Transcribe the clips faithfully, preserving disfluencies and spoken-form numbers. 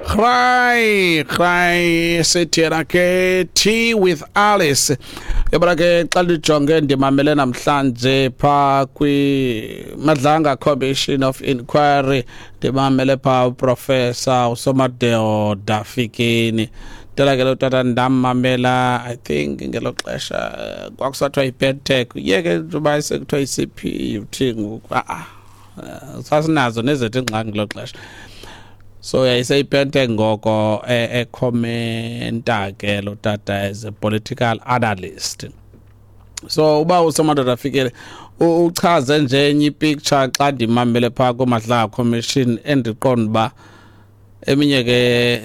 Cry cry, sithi yena ke Tea with Alice. Yabona ke, xa lijonge, ndimamele namhlanje pha kwi Madlanga Commission of Inquiry, ndimamele pha uProfessor uSomadoda Fikeni. Tela ke lo tata ndamamela, I think ngelo xesha eh, kwakusathiwa yi-PETEC, ye ke njengoba sekuthiwa yi-C P U T ngoku. A-a, sasinazo nezethu iingxaki ngelo xesha. So yayiseyiPETEC ngoko, ekhomenta ke lo tata as a political analyst. So uba uSomadoda Fikile uchaze nje enye ipicture xa ndimamele phaa kuMadlanga Commission, endiqonda uba eminye ke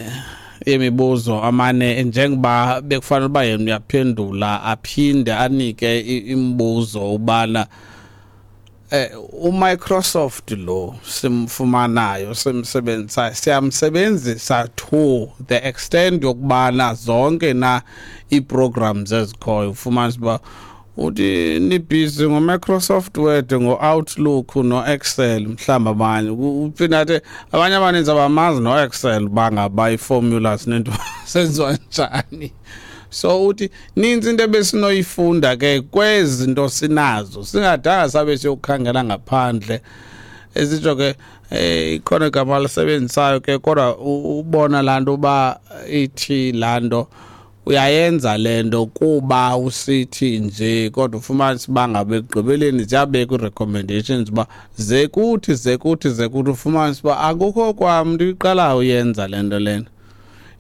yemibuzo amane njengoba bekufanele uba yena uyaphendula, aphinde anike imibuzo ubana eh uMicrosoft lo simfumanayo, simsebenzisayo, siyamsebenzisa to the extent yokubana zonke na ii-programs ezikhoyo, ufumanisa uba uthi nibhizi ngo-Microsoft Word, ngo-Outlook, no-Excel. Mhlawumbi abanye uphinda athi abanye abaninzi abamazi no-Excel, bangaba ii-formulas nento senziwa njani. So uthi ninzi into ebesinoyifunda ke kwezi zinto sinazo, singadanga sabe siyokukhangela ngaphandle. Esitsho ke, eh ikhona igama lisebenzisayo ke, kodwa ubona laa nto uba ithi laa nto uyayenza le nto kuba usithi nje, kodwa ufumanise uba ngabe ekugqibeleni ziyabekwa ii-recommendations uba ze kuthi, ze kuthi, ze kuthi, ufumanise uba akukho kwamntu iqalayo uyenza le nto lena.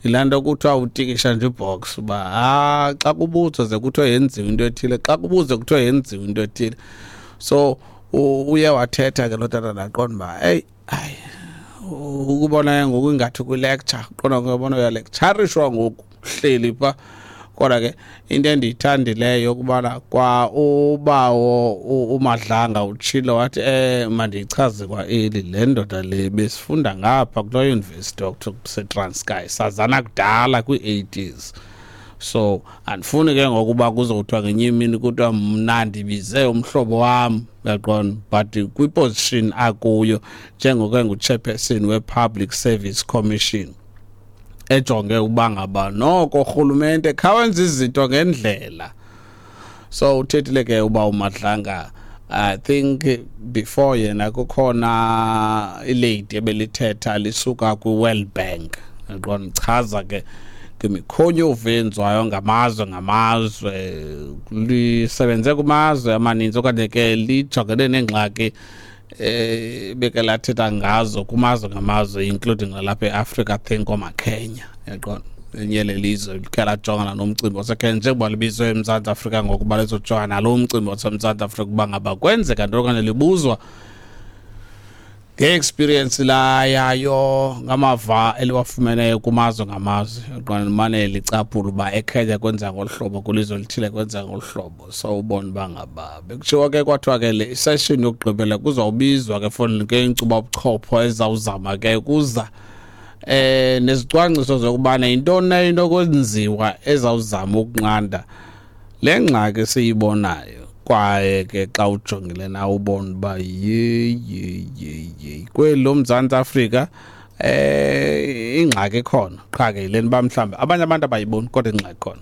Yilaa nto kuthiwa utikisha nje ibox uba ha xa kubuzwa ze kuthiwa yenziwe into ethile, xa kubuzwa kuthiwa yenziwe into ethile. So uye wathetha ke lo tata, ndaqonda uba eyi, hayi, ukubona ke ngoku ingathi kwi-lecture, qonda ngiyabona uyalecturishwa ngoku hleli pha. Kodwa ke into endiyithandileyo yokubana kwa ubawo uMadlanga utshilo wathi, eh mandiyichaze kwa eli le ndoda le besifunda ngapha kuloo university okuthiwa kuseTranskei, sazana kudala kwii-eighties. So andifuni ke ngokuba kuzothiwa ngenye imini kuthiwa mna ndibize umhlobo wam, uyaqonda? But kwiposition akuyo njengoko engu-chairperson we-Public Service Commission, ejonge uba ngaba noko urhulumente khawenza izinto ngendlela. So uthethile ke uba uMadlanga. I think before yena kukhona ilady ebelithetha lisuka kwi-World Bank, yaqonda, chaza ke ngemikhonyovu eyenziwayo ngamazwe ngamazwe, lisebenze kumazwe amaninzi okanye ke lijongene neengxaki eh beke lathetha ngazo kumazwe ngamazwe, including nalapha eAfrica, think oomaKenya, yaqonda, enye lelizwe likhe lajongana nomcimbi waseKenya, njengoba libizwe eMzantsi Afrika ngokuba lizojongana nalo mcimbi waseMzantsi Afrika, ukuba ngaba kwenzeka nto okanye libuzwa nge-experience la yayo, ngamava eliwafumeneyo kumazwe ngamazwe. Qona limane licaphula uba eKenya kwenza ngolu hlobo, kwilizwe elithile kwenza ngolu hlobo. So ubone uba ngaba bekutshiwo ke, kwathiwa ke le session yokugqibela kuzawubizwa ke for ke inkcuba buchopho ezawuzama ke kuza eh nezicwangciso zokubana yintoni na into kwenziwa ezawuzama ukunqanda le ngxaki siyibonayo. Kwaye ke xa ujongile na ubona uba ye ye ye ye kweli loMzantsi Afrika eh ingxaki ikhona, qha ke yileni uba mhlawumbi abanye abantu abayiboni, kodwa ingxaki ikhona.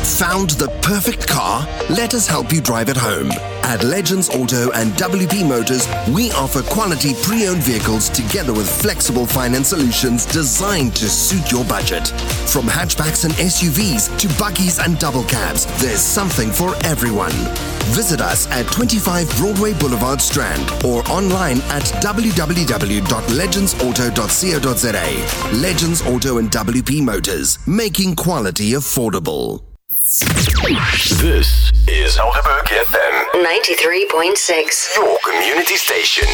Found the perfect car? Let us help you drive it home. At Legends Auto and W P Motors, we offer quality pre owned vehicles together with flexible finance solutions designed to suit your budget. From hatchbacks and S U Vs to buggies and double cabs, there's something for everyone. Visit us at twenty-five Broadway Boulevard, Strand, or online at w w w dot legendsauto dot co dot za. Legends Auto and W P Motors, making quality affordable. This is Helderberg F M ninety-three point six. Your community station.